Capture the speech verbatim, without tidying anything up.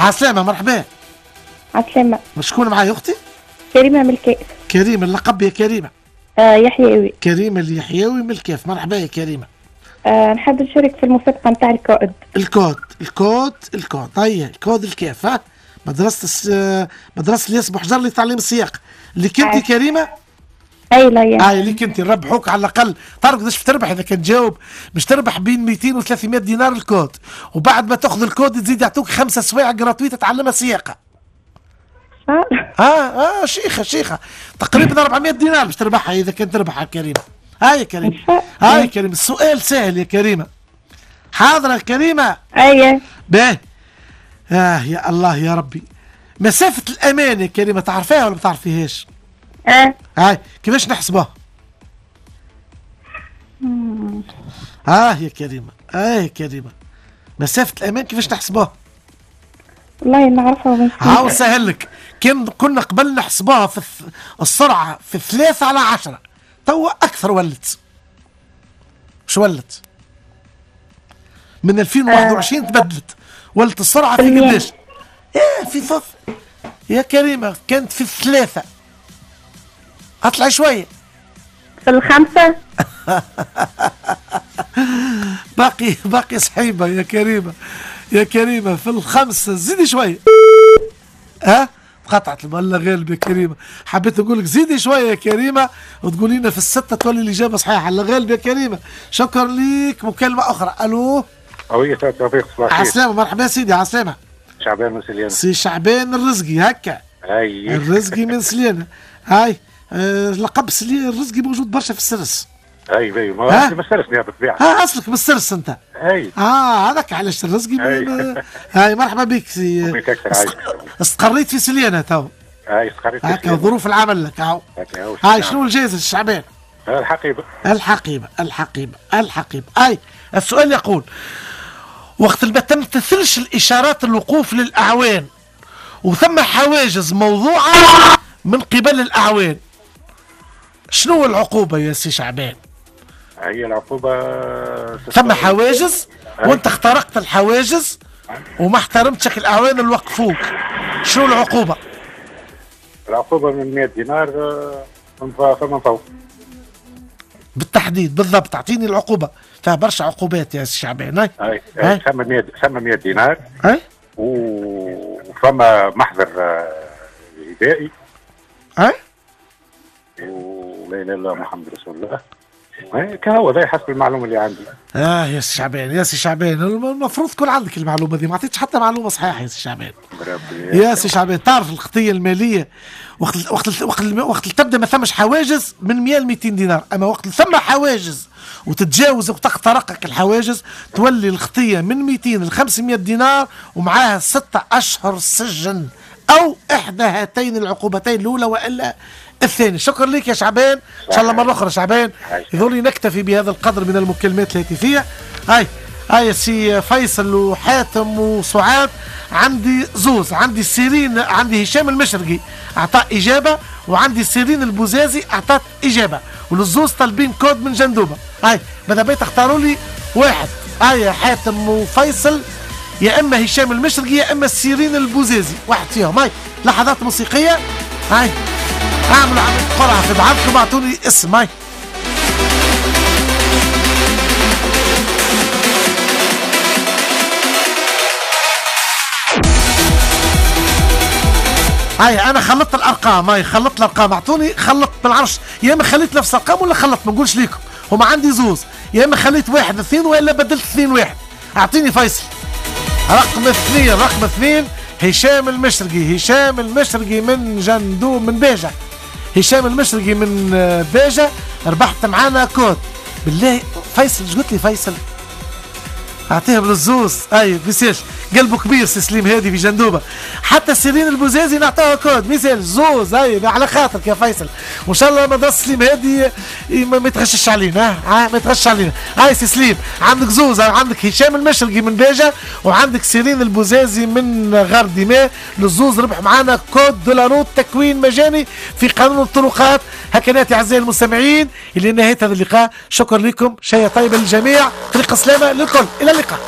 عسلامة، مرحبا. عسلامة. شكون معايا اختي؟ كريمة من الكاف. كريمة، اللقب يا كريمة؟ آه يحيوي. كريمة اليحيوي من الكاف، مرحبا يا كريمة. آه نحب نشارك في المسابقة نتاع الكود. الكود الكود الكود، طيب الكود الكاف، ها مدرسة الس... مدرسة الياس بوحجر لتعليم السياقة. اللي كنتي آه. كريمة؟ اي لا يا اي اللي كنتي نربحوك على الاقل، تعرف قداش تربح اذا كان تجاوب؟ باش تربح بين مئتين و ثلاثمية دينار الكود، وبعد ما تاخذ الكود تزيد يعطوك خمسة سوايع gratuites تتعلمها سياقة. اه اه شيخه شيخه تقريبا أربعمية دينار باش تربحها اذا كان تربحها كريمة. هاي يا كريمة، هاي يا كريمة، السؤال سهل يا كريمة. حاضره كريمة؟ ايوه. باهي. اه يا الله يا ربي، مسافة الامان يا كريمة تعرفيها ولا ما تعرفيهاش؟ اه. هاي كيفاش نحسبوها؟ اه يا كريمة، اه يا كريمة، مسافة الامان كيفاش نحسبوها؟ والله نعرفها. هاو سهل لك، كان كنا قبل نحسبوها في السرعة في ثلاثة على عشرة، توا أكثر ولت. شو ولت؟ من ألفين وواحد وعشرين تبدلت، ولت السرعة في قداش؟ إيه في فف يا كريمة كانت في الثلاثة. أطلع شوية. في الخمسة؟ باقي باقي صحيبة يا كريمة، يا كريمة في الخمسة، زيدي شوية. ها؟ قطعت والله غالب يا كريمة، حبيت نقول لك زيدي شوية يا كريمة وتقولي لنا في الستة تولي الإجابة صحيحة. الله غالب يا كريمة، شكرا ليك. مكالمة أخرى، ألو. أوي توفيق، صباح الخير. عسلامة، مرحبا سيدي. عسلامة. شعبان من سليانة. سي شعبان الرزقي، هكا. أي الرزقي من سليانة. هاي آه لقب سليانة الرزقي موجود برشا في السرس. اي اي ما اصلي من السرس بالطبيعة. اه اصلك من السرس انت. اي اه هذاك علاش الرزقي. هاي مرحبا بك سي. بك اكثر عايش. استقريت في سليانه تو. اي استقريت في هكا ظروف العمل لك هاو. هاي شنو الجائزة الشعبان؟ الحقيبة. الحقيبة الحقيبة الحقيبة. اي السؤال يقول: وقت ما تمتثلش الاشارات الوقوف للاعوان وثم حواجز موضوعه من قبل الاعوان، شنو العقوبة يا سي شعبان؟ هي العقوبة ثم حواجز وانت اخترقت الحواجز وما احترمتش الاعوان اللي وقفوك، شنو العقوبة؟ العقوبة من مئة دينار فمن فوق. بالتحديد بالضبط، اعطيني العقوبة، فيها برشا عقوبات يا سي شعبان. اي اي ثم ثم مئة دينار. اي وفما محضر جبائي. اي ولا اله الا الله محمد رسول الله. كهو هذا حسب المعلومة اللي عندي. اه يا سي شعبان، يا سي شعبان المفروض تكون عندك المعلومة دي، ما عطيتش حتى معلومة صحيحه يا سي شعبان. يا سي شعبان تعرف الخطية المالية وقت وقت وقت وقت تبدا ما ثمش حواجز من مئة ل مئتين دينار، اما وقت ثم حواجز وتتجاوز وتخترقك الحواجز تولي الخطية من مئتين ل خمسمئة دينار ومعاها ستة اشهر سجن او احدى هاتين العقوبتين الاولى والا الثاني. شكرا لك يا شعبان، ان شاء الله مرة اخرى شعبان. يظل نكتفي بهذا القدر من المكالمات الهاتفية. هاي هاي سي فيصل وحاتم وسعاد، عندي زوز، عندي سيرين، عندي هشام المشرقي اعطى اجابه، وعندي سيرين البوزازي اعطت اجابه، والزوز طالبين كود من جندوبه. هاي ماذا بيا تختاروا لي واحد. هاي حاتم وفيصل، يا اما هشام المشرقي يا اما سيرين البوزازي، واحد فيهم. هاي لحظات موسيقية. هاي اعملوا عملية قرعة في بعضكم، اعطوني اسم. هاي هاي انا خلطت الارقام، هاي خلطت الارقام، اعطوني خلطت ما نعرفش، يا اما خليت نفس الارقام ولا خلطت، ما نقولش ليكم، هما عندي زوز، يا اما خليت واحد اثنين والا بدلت اثنين واحد. اعطيني فيصل. رقم اثنين، رقم اثنين هشام المشرقي، هشام المشرقي من جندو من باجة، هشام المشرقي من باجة ربحت معانا كود. بالله فيصل اش قلت لي فيصل؟ اعطيهم للزوز. اي ميسالش، قلبه كبير سي سليم هادي في جندوبه. حتى سيرين البوزازي نعطوها كود، ميسالش زوز. اي على خاطرك يا فيصل، وان شاء الله مدرسه سليم هادي ما يتغشش علينا، ها ما يتغشش علينا. هاي سي سليم عندك زوز، عندك هشام المشرقي من باجه وعندك سيرين البوزازي من غار دماء. للزوز ربح معانا code de la route، تكوين مجاني في قانون الطرقات. هكا ناتي اعزائي المستمعين الى نهاية هذا اللقاء، شكرا لكم، شيء طيب للجميع، طريق سلامه للكل، الى اللقاء.